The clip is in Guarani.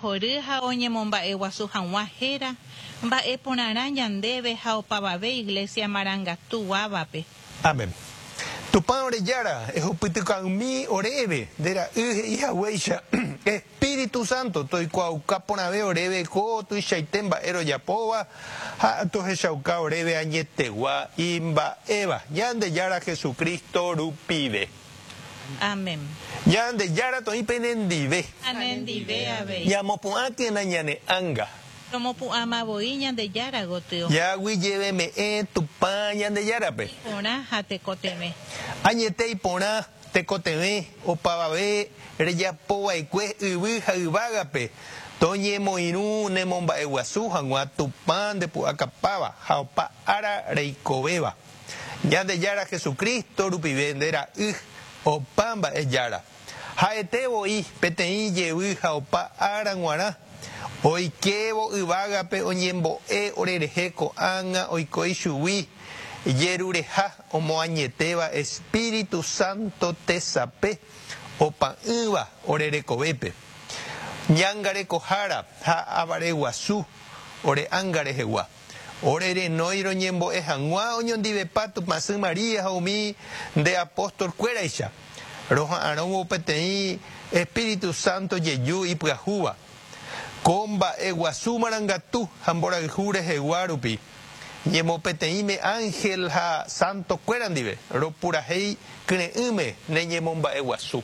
Ojeguerohory ha oñemomba'eguasu haguã héra, mba'e porãrã ñandéve ha opavave Iglesia marangatu guávape. Amén. Tupã ore Jára, ehupytyka'ỹmi oréve, nde Ra'y he'i haguéicha, Espíritu Santo toikuaauka porãve oréve ko tuichaite mba'e rojapóva ha tohechauka oréve añetegua imba'éva, Ñandejára Jesucristo rupive. Amén. Ñandejára toĩ penendive. Ha nendive avei. Ñamopu'ãkena ñane ánga. Romopu'ãma voi Ñandejára gotyo. Jaguyjeveme'ẽ Tupã Ñandejárape. Iporã ha tekotevẽ. Añete iporã tekotevẽ opavave rejapova'ekue yvy ha yvágape toñemoirũ nemomba'eguasu hag̃ua Tupã ndepu'akapáva ha opa ára reikovéva. Ñandejára Jesucristo rupive nde Ra'y, opa mba'e Jára. Ha'ete voi peteĩ jevy ha opa ára g̃uarã, oikévo yvágape oñembo'e orerehe ko'ág̃a oiko ichugui jerureha omoañetéva Espíritu Santo tesape opa'ỹva ore rekovépe. Ñangarekohára ha avareguasu ore ánga rehegua. Ore renói roñembo'e hag̃ua oñondivepa Tupãsy María ha umi nde apóstol-kuéraicha, roha'arõvo peteĩ Espíritu Santo jeju ipyahúva. Ko mba'e guasu marangatu ha mborayhu rehegua rupi, ñemopeteĩme ángel ha santo-kuéra ndive, ropurahéi kyre'ỹme ne ñemomba'eguasu.